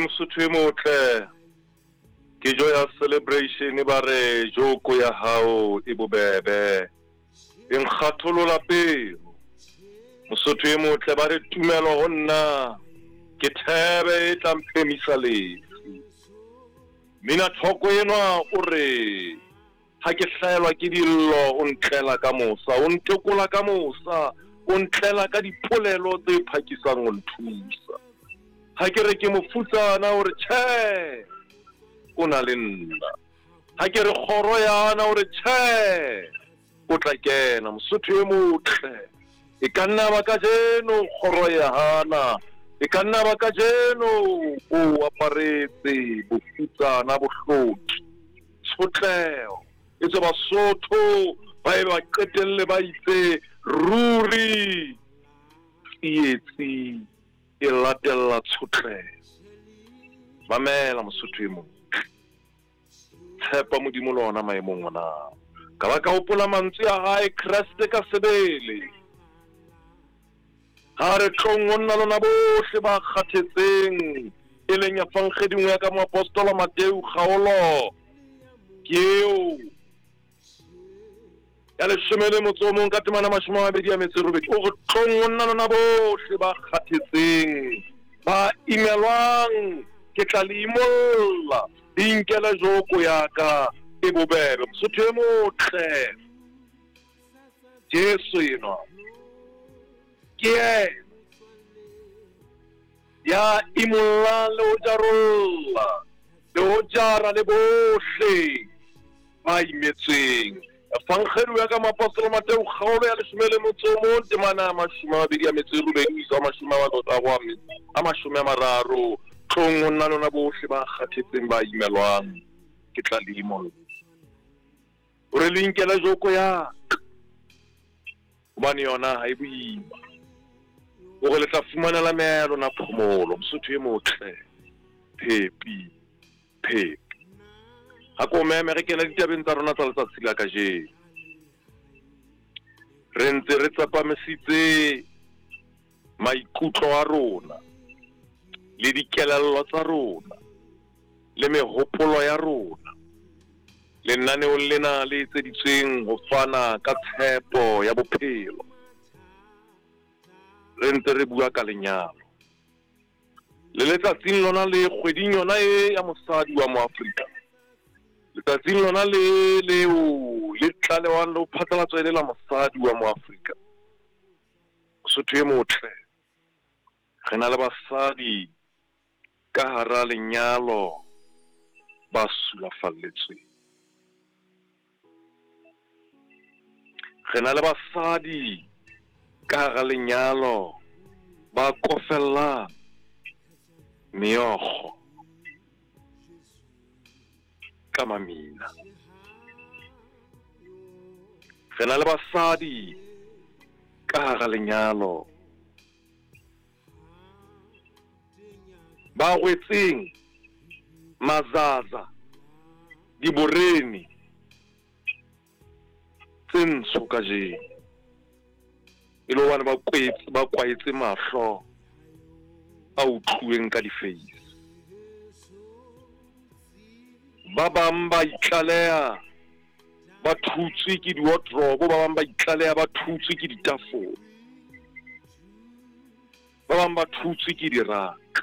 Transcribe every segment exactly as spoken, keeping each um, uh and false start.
Mosotho e motle, ke joya celebration ba re joko ya hao e bobebe, e nkgatholola pelo. Mosotho e motle ba re tumelo ho nna ke thebe e tla mphemisa lefu. Mina thoko enwa o re ha ke hlaelwa ke dillo o ntlela ka mosa, o ntekola ka mosa, o ntlela ka dipolelo tse phakisang ho nthusa. Ha ke re ke mofutsana o re tjhe, o na le nna. Ha ke re kgoro yana o re tjhe, o tla kena. Mosotho e motle, e ka nna ba kajeno kgoro ya hana, e ka nna ba kajeno o aparetse bofutsana, bohloki, tshotleho. E tswe Basotho ba e ba qetelle ba itse ruri tsietsi e latella tshotleho. Mamela Mosotho e motle, tshepa Modimo le ona maemong ona. Ka ba ka hopola mantswe a hae Kreste ka sebele, ha re tlong ho nna lona bohle ba kgathetseng, e leng Evangeli ya ka moapostola Mateu kgaolo ke eo ya leshome le motso o mong ka temana mashome a mabedi a metso e robedi. O re tlong ho nna lona bohle ba kgathetseng, ba imelwang, ke tla le imolla, le inkele joko ya ka e bobebe. Mosotho e motle, Jesu enwa ke yena ya imollang le ho jarolla le ho jara le bohle ba imetsweng. Evangeli ya ka moapostola Mateu kgaolo ya leshome le motso o mong temana ya mashome a mabedi a metso e robedi ho isa mashome a mararo a mashome a mararo. Tlong ho nna lona bohle ba kgathetseng ba imelwang, ke tla le imolla. O re le inkele joko ya ka, hobane yona ha e boima. O re le tla fumanela meya ya lona phomolo. Mosotho e motle, phepi phepi. Ha ko meme re kena ditabeng tsa rona tsa letsatsi la kajeno. Re ntse re tsepamisitse maikutlo a rona le dikelello tsa rona le mehopolo ya rona lenaneong lena le etseditsweng ho fana ka tshepo ya bophelo. Re ntse re bua ka lenyalo le letsatsing lona le kgweding yona e ya mosadi wa Moafrika, letsatsing lona le leo le tlalewang le ho phatlalatswa e le la mosadi wa Moafrika. Mosotho e motle, re na le basadi ka hara lenyalo ba sulafalletsweng. Re na le basadi ka hara lenyalo ba kofellang meokgo ka mamina. Re na le basadi ka hara lenyalo ba rwetseng mazaza diborene tse ntsho kajeno, e le hobane ba kwetse, ba kwaetse mahlo a utluweng ka difeisi. Ba bang ba itlaleha ba thutswe ke di-wardrobe, ba bang ba itlaleha ba thutswe ke ditafole, ba bang ba thutswe ke diraka.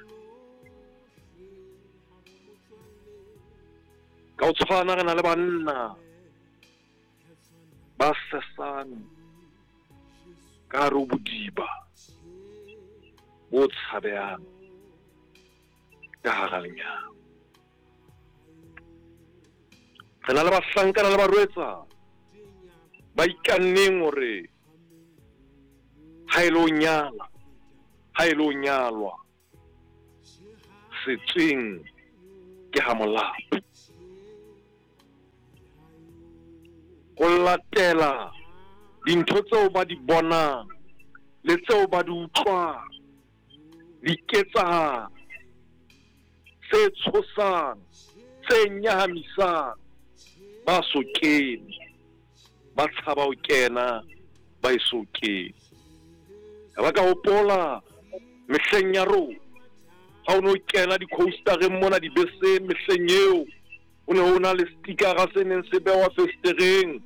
Ka ho tshwana re na le banna ba sesang ka hare ho bodiba bo tshabehang ka hara lenyalo. Re na le bahlankana le barwetsana ba ikanneng hore ha e le ho nyala, ha e le ho nyalwa, setsweng ke ha molapo. Ho latela dintho tseo ba di bonang le tseo ba di utlwang, diketsahalo tse tshosang, tse nyahamisang, ba so kene, ba tshaba ho kena, ba eso kene. Ba ka hopola mehleng ya rona Ha o no kena di-coastereng mona dibeseng mehleng eo, o ne o na le stikara se neng se bewa festereng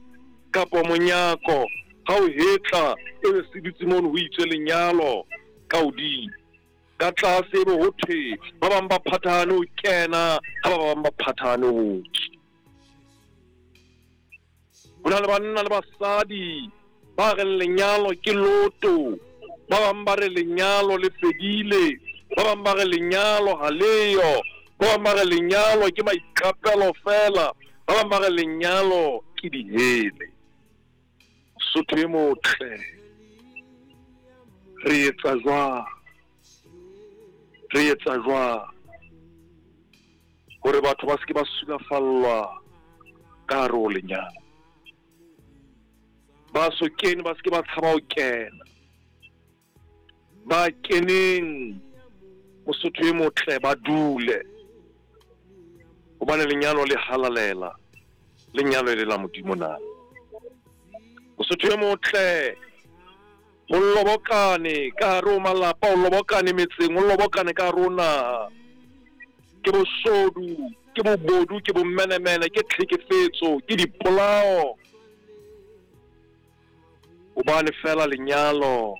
kapa monyako. Ha o hetla e be se dutse mono ho itswe lenyalo ka hodimo. Ka tlase ebe ho thwe ba bang ba phathahane ho kena, ha ba bang ba phathahane ho tswa. Ho na le banna le basadi ba reng lenyalo ke loto, ba bang ba re lenyalo le fedile, ba bang ba re lenyalo ha leyo, ba bang ba re lenyalo ke maiqapelo fela, ba bang ba re lenyalo ke dihele. Mosotho e motle, re etsa jwang? Re etsa jwang hore batho ba se ke ba sulafallwa ka hare ho lenyalo? Ba so kene ba se ke ba tshaba ho kena. Ba keneng Mosotho e motle ba dule, hobane lenyalo le halalela, lenyalo le la Modimo na. Mosotho e motle, ho lobokane ka hare ho malapa, ho lobokane metseng, ho lobokane ka hare ho naha. Ke boshodu, ke bobodu, ke bomenemene, ke tlhekefetso, ke dipolao. Hobane fela lenyalo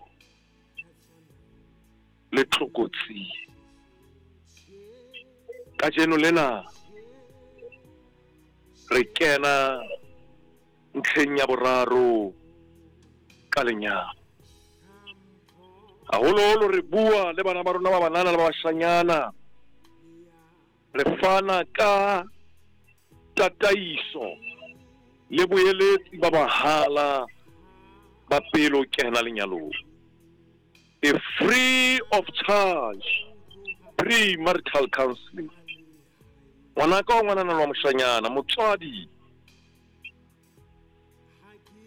le tlokotsi. Kajeno lena re kena ntlheng ya boraro ka lenyalo. Haholoholo re bua le bana ba rona ba banana le ba bashanyana, re fana ka tataiso le boeletsi ba mahala ba pele o kena lenyalong. A free of charge pre-marital counseling. Ngwanaka wa ngwanana wa moshanyana, motswadi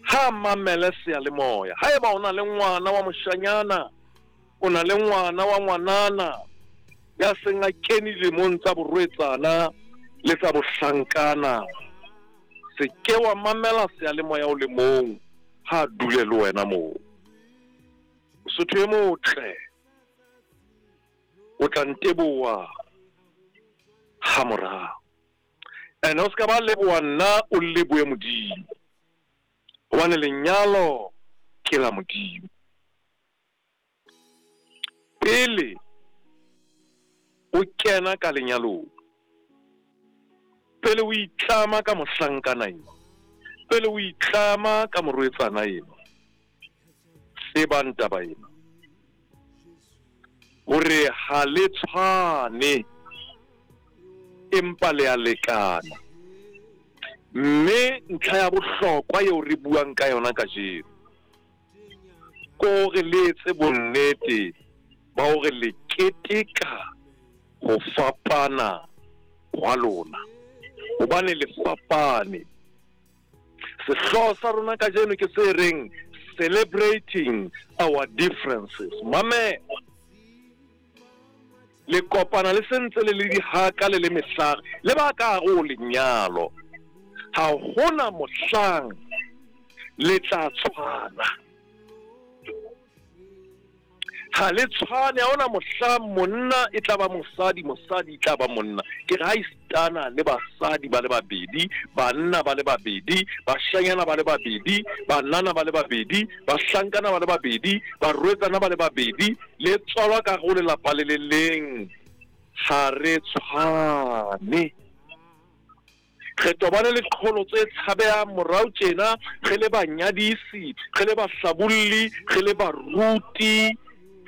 ha mamele seyalemoya. Haeba o na le ngwana wa moshanyana, o na le ngwana wa ngwanana ya seng a kene dilemong tsa borwetsana le tsa bohlankana, se ke wa mamela seyalemoya o le mong, ha dule le wena moo. Mosotho e motle, o tla nteboha ha morao. Ene o ska ba leboha nna, o lebohe Modimo, hobane lenyalo ke la Modimo. Pele o kena ka lenyalong, pele o itlama ka mohlankana eno, pele o itlama ka morwetsana eno, tsebang taba ena hore ha le tshwane, empa le a lekana. Mme ntlha ya bohlokwa eo re buang ka yona kajeno ke hore le etse bonnete ba hore le keteka ho fapana hwa lona, hobane le fapane. Sehlooho sa rona kajeno ke se reng celebrating our differences. Mame, le kopana le sentse le le dihaka le le mehlare le ba ka hare ho lenyalo. Ha hona mohlang le tla tshwana. Ha le tshwane, ha hona mohlang monna e tla ba mosadi, mosadi e tla ba monna. Ke re ha esitana le basadi ba le babedi, banna ba le babedi, bashanyana ba le babedi, banana ba le babedi, bahlankana ba le babedi, barwetsana ba le babedi, le tswalwa ka hare ho lelapa le le leng. Ha re tshwane. Re tobane le qholotso e tshabehang morao tjena, re le banyadisi, re le bahlabolli, re le baruti,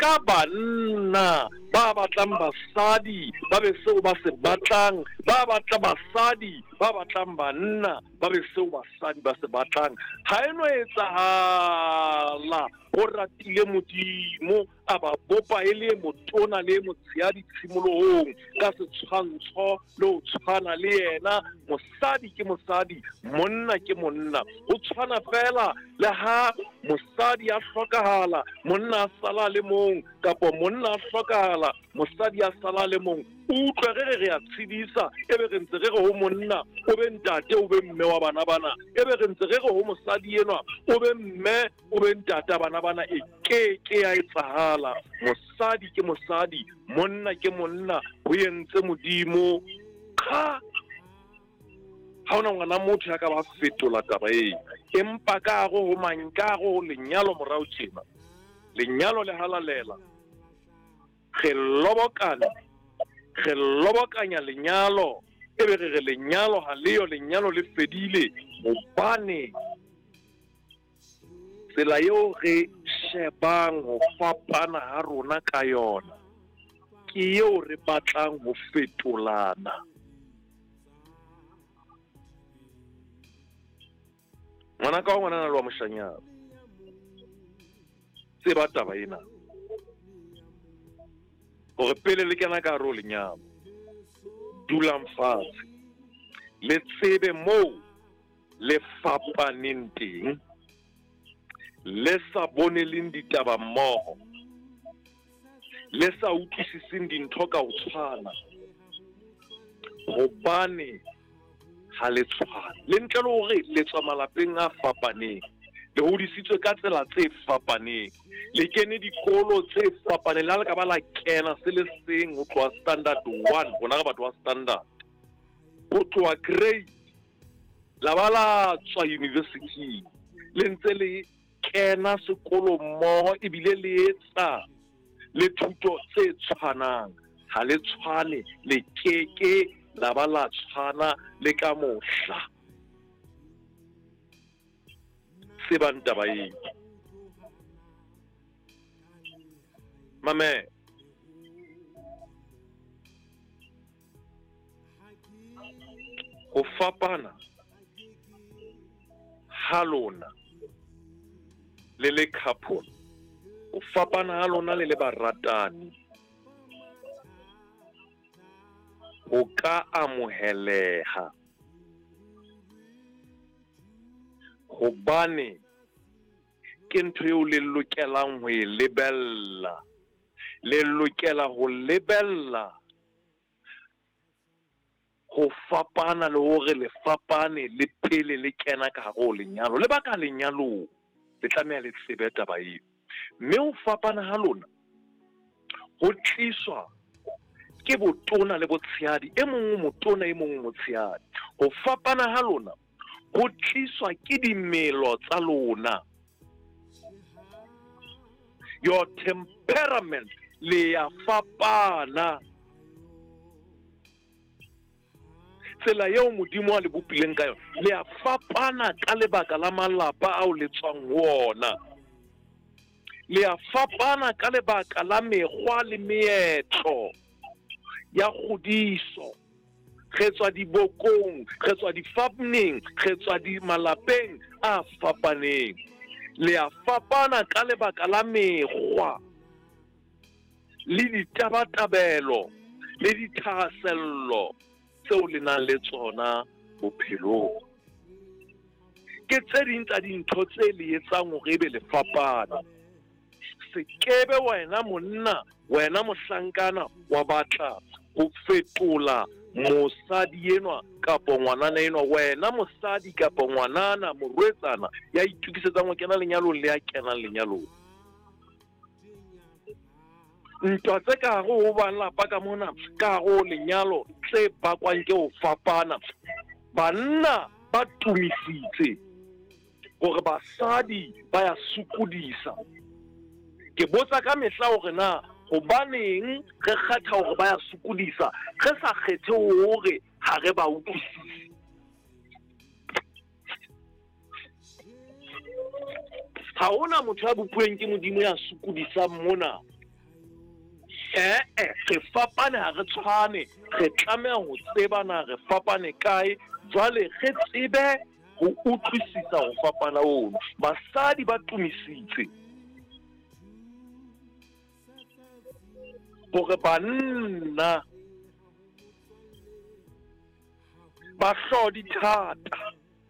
ka banna ba batlang basadi ba be seo ba se batlang, ba batla basadi ba batlang banna ba be seo basadi ba se batlang. Ha e no etsahala ho ratile Modimo a ba bopa e le motona le motshehadi tshimolohong ka setshwantsho le ho tshwana le yena. Mosadi ke mosadi, monna ke monna. Ho tshwana fela le ha mosadi a hlokahala, monna a sala le mong, kapa monna a hlokahala, mosadi a sala le mong. Utlwe re re re a tshedisa, ebe re ntse re re ho monna o be ntate o be mme wa bana bana, ebe re ntse re re ho mosadi enwa o be mme o be ntata bana bana. E ke ke ya etsahala. Mosadi ke mosadi, monna ke monna, ho entse Modimo. Qha, ha hona ngwana motho ya ka ba fetola taba ena. Empa ka hare ho mang, ka hare ho lenyalo morao tjena, lenyalo le halalela, re lobokana, re lobokanya lenyalo, ebe re re lenyalo ha leyo, lenyalo le fedile, hobane tsela eo re shebang ho fapana ha rona ka yona ke eo re batlang ho fetolana. Ngwana ka wa ngwanana le wa moshanyana, tseba taba ena hore pele le kena ka hare ho lenyalo, dulang fatshe le tsebe moo le fapaneng teng, le sa boneleng ditaba mmoho, le sa utlwisiseng dintho ka ho tshwana, hobane ha le tshwane. Le ntle le hore le tswa malapeng a fapaneng, le hodisitswe ka tsela tse fapaneng, le kene dikolo tse fapaneng, le ha le ka ba la kena se le seng ho tloha standard one, rona re batho ba standard, ho tloha grade la ba la tswa university, le ntse le kena sekolo mmoho ebile le etsa le thuto tse tshwanang. Ha le tshwane, le keke la ba la tshwana le ka mohla. Tsebang taba eo. Mame, ho fapana ha lona le le couple, ho fapana ha lona le le baratani, ho ka amoheleha, hobane ke ntho eo le lokelang ho e lebella. Le lokela ho lebella ho fapana le hore le fapane le pele le kena ka hare ho lenyalo. Lebaka lenyalong le tlameha le tsebe taba eo. Mme ho fapana ha lona ho tliswa ke botona le botshehadi, e mong o motona e mong o motshehadi. Ho fapana ha lona ho tliswa ke dimelo tsa lona, your temperament, le ya fapana. Tsela eo Modimo a le bopileng ka yona, le ya fapana ka lebaka la malapa ao le tswang ho ona, le ya fapana ka lebaka la mekgwa le meetlo ya kgodiso. Re tswa dibokong, re tswa difapaneng, re tswa di malapeng a fapaneng. Le ya fapana ka lebaka la mekgwa le ditabatabelo le dithahasello tseo le nang le tsona bophelong. Ke tse ding tsa dintho tse le etsang hore ebe le fapana. Se kebe wena monna, wena mohlankana wa batla ho fetola mosadi enwa kapa ngwanana enwa, wena mosadi kapa ngwanana morwetsana ya itokisetsang ho kena lenyalong le ya kenang lenyalong. Ntwa tse ka hare ho malapa ka mona, ka hare ho lenyalo, tse bakwang ke ho fapana. Banna ba tumisitse hore basadi ba ya sokodisa. Ke botsa ka mehla hore na hobaneng re kgetha hore ba ya sokodisa, re sa kgethe hore ha re ba utlwisise. Ha hona motho ya bopuweng ke Modimo ya sokodisang mona. Eh eh, re fapane ha re tshwane, re tlameha ho tseba na re fapane kae, jwale re tsebe ho utlwisisa ho fapana ono. Basadi ba tumisitse hore banna ba hlodi thata,